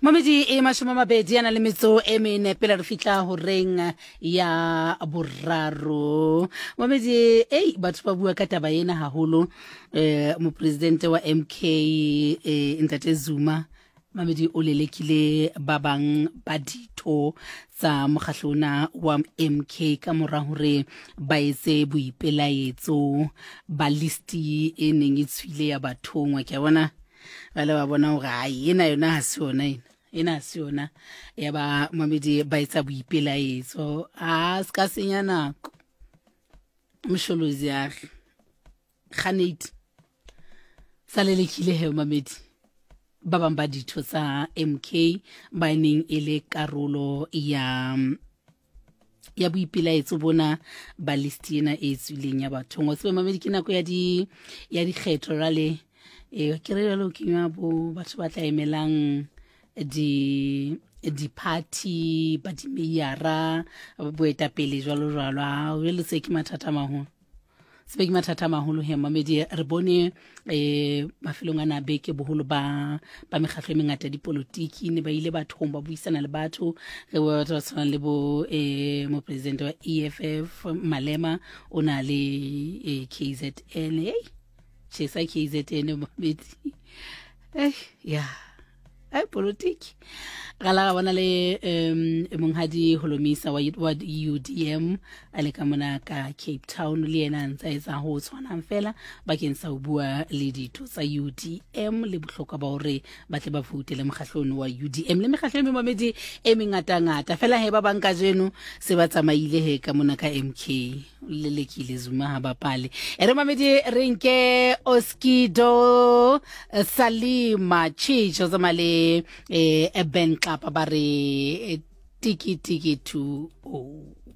Mamedi e 20 a na le metso e mene pele re fihla horeng ya boraro. Mamedi ei batho ba bua ka taba ena haholo eh mopresidente wa MK eh, Ntate Zuma Mamedi o lelekile ba bang ba ditho tsa mokgahlo ona wa MK ka mora hore ba etse boipelaetso ba listi e neng e tswile ya bathongwa. Ke a bona ba le ba bona hore ai ena yona ha se yona ena ena ha se yona ya ba mamedi ba etsa boipelaetso a se ka senya nako mosholozi a re ganate sa lelekile he mamedi ba bang ba ditho tsa MK ba neng e le karolo ya ya boipelaetso bona ba list ena e tswileng ya bathong wa tsebe mamedi ke nako ya di ya dikgetho rale e ke re jalo kenywa bo batho ba tla emelang di di-party ba dimeiara boetapele jwalo jwalo a jale se ke mathata a maholo sebe ke mathata a maholo he mamedi re bone um mafelong a na beke boholo ba ba mekgatlho e mengata ya dipolotiki ne ba ile bathong ba buisana le batho re bo batho ba tshwanang le bo um mopresidente wa e f f malema o na le eh, kzn ei chesa kzn mamedi ei ya ai politiki ra la bona le um monghadi holomisa wa, wa UDM a le ka mona ka Cape Town le yena a ntse a etsa ho tshwanang fela bakeng sa ho bua le ditho tsa UDM le bohlokwa ba hore ba tle ba voutele mokgahlong wa UDM le mekgahlo e memamedi e mengatangata fela he ba bang kajeno se ba tsamaile he ka mona ka MK lelekile Zuma ha bapale e re mamedi re nke Oskido Salima Chicho tsamaya le eh, Ben Xapa ba re eh, tiki tiki 2 0.